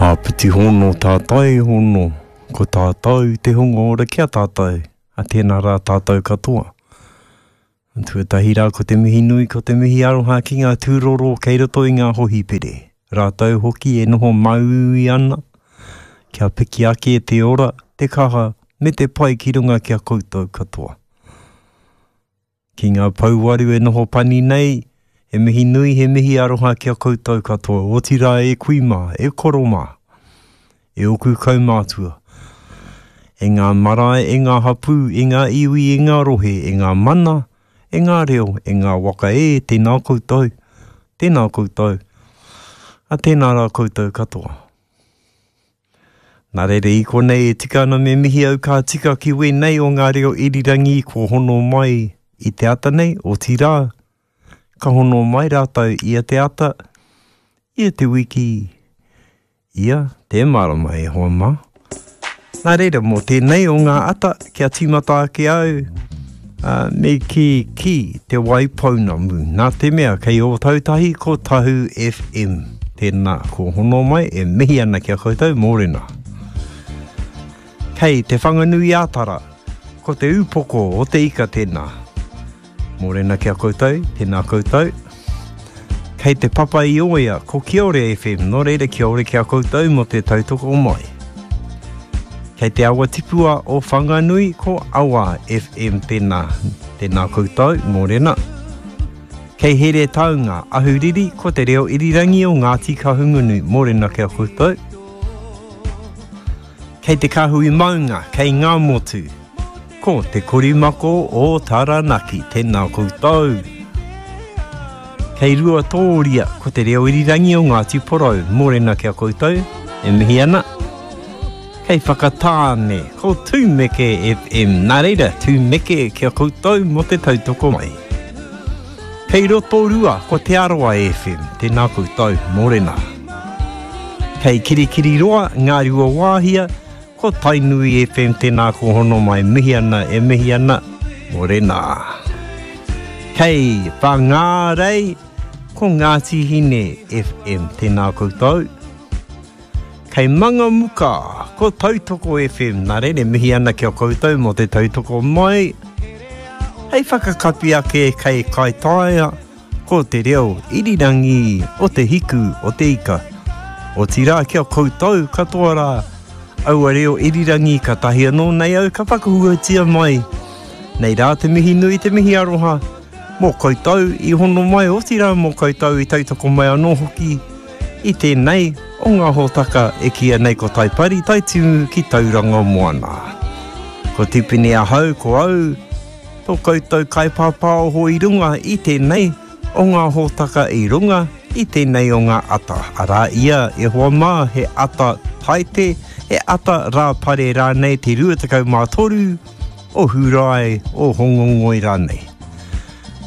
Āpiti hono tātai hono, ko tātou te hunga ora ki a tātou, a tēnā rā tātou katoa. Tuatahi rā ko te mihi nui, ko te mihi aroha ki ngā tūroro kei roto i ngā hohipere. Rātou hoki e noho māuiui ana, kia piki ake te ora, te kaha, me te pai ki runga ki a koutou katoa. Ki ngā pouwaru e noho pani nei, he mihi nui, he mihi aroha ki a koutou katoa, otirā e kui mā, e koro mā, e ōku kaumātua, e ngā marae, e ngā hapū, e ngā iwi, e ngā rohe, e ngā mana, e ngā reo, e ngā waka e, tēnā koutou, tēnā koutou, a tēnā rā koutou katoa. Nā reira i konei e tika ana me mihi au ka tika ki wēnei o ngā reo irirangi kua hono mai i te ata nei, otirā, ka hono mai rātou ia te ata, ia te wiki, ia te marama e hoa mā. Nā reira, mō tēnei o ngā ata, kia tīmata ake au, ā, me kī ki Te Waipounamu, nā te mea kei Ōtautahi ko Tahu FM. Tēnā, ko hono mai e mihi ana ki a koutou, mōrena. Kei Te Whanganui-ā-Tara, ko Te Ūpoko o te Ika tēnā. Mōrena ki a koutou, tēnā koutou. Kei Te Papa i Oea, ko Kiore FM, nō reira kia ora ki a koutou mō te tautoko mai. Kei te awa tipua o Whanganui, ko Awa FM tēnā. Tēnā koutou, mōrena. Kei Heretaunga, Ahuriri, ko te reo irirangi o Ngāti Kahungunu, mōrena ki a koutou. Kei te Kāhui Maunga, kei Ngāmotu, ko Te Korimako o Taranaki, tēnā koutou. Kei Ruatōria, ko te reo irirangi o Ngāti Porou, mōrena ki a koutou, e mihi ana. Kei Whakatāne, ko Tūmeke FM, nā reira, tūmeke ki a koutou mō te tautoko mai. Kei Rotorua, ko Te Arawa FM, tēnā koutou, mōrena. Kei Kirikiriroa, Ngāruawāhia, ko Tainui FM, tēnā ko hono mai, mihi ana, e mihi ana, mōrena. Kei Whangārei, ko Ngāti Hine FM, tēnā koutou. Kei Mangamuka, ko Tautoko FM, nā reira e mihi ana ki a koutou mō te tautoko mai. Hei whakakapi ake kei Kaitaia, ko te reo irirangi o te hiku o te ika. Otirā ki a koutou katoa rā, aua reo irirangi katahi anō nei au ka whakahuatia mai. Nei rā te mihi nui, te mihi aroha, mō koutou i hono mai, otirā mō koutou i tautoko mai anō hoki i tēnei o ngā hōtaka e kīia nei ko Taipari Taitimu ki Tauranga Moana. Ko Tipene ahau, ko au, tō koutou kaipāpāoho i runga i tēnei o ngā hōtaka i runga i tēnei o ngā ata. Arā ia, e hoa mā, he ata Taite, he ata Rāpare rānei te 23 o Hūrae, o Hongongoi rānei.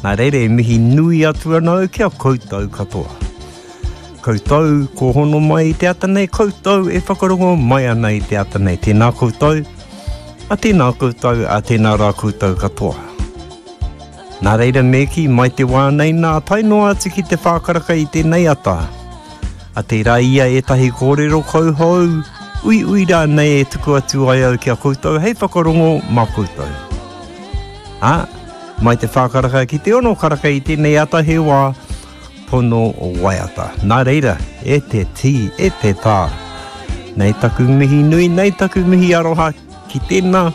Nā reira e mihi nui atu ana au ki a koutou katoa. Koutou ko hono mai i te ata nei, koutou e whakarongo mai ana i te ata nei. Tēnā koutou, a tēnā koutou, a tēnā rā koutou katoa. Nā reira me kī, mai te wā nei nā, tae noa atu ki te whākaraka i tēnei ata. A tērā ia ētahi kōrero kauhou, uiui rānei e tuku atu ai au ki a koutou hei whakarongo mā koutou. Ā, mai te whākaraka ki te ono karaka i tēnei ata he wā pono waiata. Nā reira, e te tī, e te tā. Nei taku mihi nui, nei taku mihi aroha ki tēnā,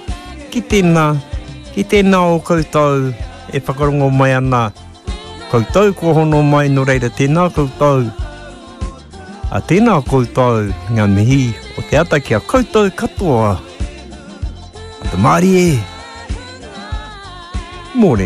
ki tēnā, ki tēnā o koutou e whakarongo mai ana. Koutou kua hono mai, nō reira tēnā koutou. A tēnā koutou ngā mihi o te ata ki a koutou katoa. Ata mārie. Mōrena.